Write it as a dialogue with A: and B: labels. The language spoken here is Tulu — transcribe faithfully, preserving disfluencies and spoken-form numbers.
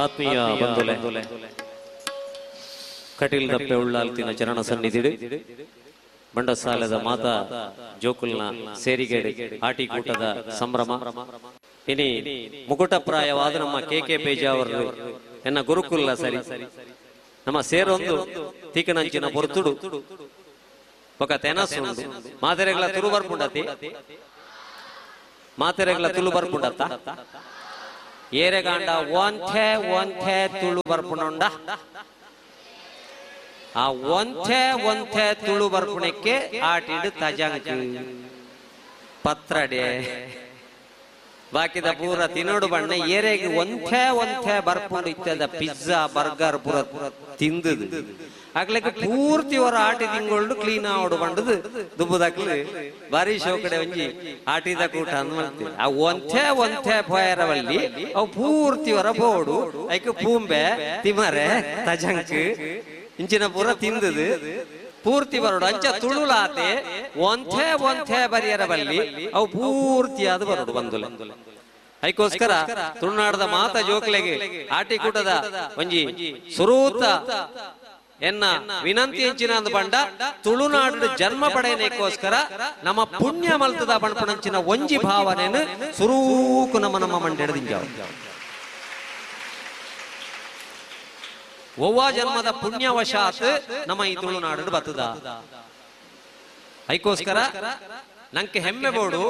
A: ಆತ್ಮೀಯ ಬಂಧುಲೆ ಕಟೀಲ್ ದಪ್ಪೆ ಉಳ್ಳಾಲ್ತಿನ ಚರಣ ಸನ್ನಿಧಿಡು ಬಂಡಸಾಲದ ಮಾತಾ ಜೋಕುಲ್ನ ಸೇರಿಗೆಡೆ ಆಟಿಕೂಟದ ಸಂಭ್ರಮ. ಇನಿ ಮುಕುಟಪ್ರಾಯವಾದ ನಮ್ಮ ಕೆ ಕೆ ಪೇಜಾವರು ಎನ್ನ ಗುರುಕುಲ್ಲ ಸರಿ ನಮ್ಮ ಸೇರೊಂದು ತೀಕನಂಚಿನ ಪೊರ್ತುಡು ಬೊಕ ತೆನಸು ಉಂಡು. ಮಾತೆರೆಗ್ಲ ತುಳು ಬರ್ಪುಂಡತಿ ಮಾತೆರೆಗ್ಲ ತುಳು ಬರ್ಪುಂಡತ್ತ ಏರೆಗಾಂಡ ಒಂಥೆ ಒಂಥೆ ತುಳು ಬರ್ಪುಂಡ ಆ ಒಂಥೆ ಒಂಥೆ ತುಳು ಬರ್ಪುಣಕ್ಕೆ ಆಟಿಡು ತಜಂಕ್ ಪತ್ರಡೆ ಬಾಕಿದ ಪೂರ ತಿನ್ನೋಡು ಬಣ್ಣ ಏರೆಗೆ ಒಂಥೆ ಒಂಥೆ ಬರ್ಪುಂಡು ಇತ್ತದ ಪಿಜ್ಜಾ ಬರ್ಗರ್ ಪೂರ ತಿಂದದು ಆಗ್ಲಿಕ್ಕೆ ಪೂರ್ತಿ ಅವರ ಆಟಿ ತಿಂಗಳು ಕ್ಲೀನ್ ಆವಡು ಬಂಡದು ದುಬ್ಬುದಾಕ್ಲು ಬಾರಿ ಶೋಕಡೆ ಒಂಜಿ ಆಟಿದ ಕೂಟ ಅಂದ್ ಮಾಡ್ತೀವಿ. ಆ ಒಂಥೆ ಒಂಥೆ ಪೋಯರವಲ್ಲಿ ಅವು ಪೂರ್ತಿ ಹೊರ ಬೋಡು ಐಕ್ ಪೂಂಬೆ ತಿಮರೆ ತಜಂಕ್ ಇಂಚಿನ ಪೂರ ತಿಂದದು ಪೂರ್ತಿ ಬರೋಡು. ಅಂಚ ತುಳುಲಾತೆ ಒಂಥೆ ಒಂಥೆ ಬರಿಯರ ಬಲ್ಲಿ ಅವು ಪೂರ್ತಿ ಅದು ಬರೋಡು ಬಂದುಲೆ. ಐಕೋಸ್ಕರ ತುಳುನಾಡದ ಮಾತ ಜೋಕ್ಲೆಗೆ ಆಟಿಕೂಟದ ಒಂಜಿ ಸುರೂತ ಎನ್ನ ವಿನಂತಿ ಎಂಚಿನ ಅಂದ ಬಂಡ ತುಳುನಾಡು ಜನ್ಮ ಪಡೆಯನೇಕೋಸ್ಕರ ನಮ್ಮ ಪುಣ್ಯ ಮಲ್ತದ ಬಣ್ಪಣಂಚಿನ ಒಂಜಿ ಭಾವನೆಯನ್ನು ಸುರೂಕು ನಮ್ಮ ನಮ್ಮ ಮಂಡೆಡ್ದಿಂಜಾವು. ಒವ್ವ ಜನ್ಮದ ಪುಣ್ಯವಶಾತ್ ನಮ್ಮ ಈ ತುಳುನಾಡು ಬತ್ತದ. ಐಕೋಸ್ಕರ ನಂಗೆ ಹೆಮ್ಮೆ ಬೋಡು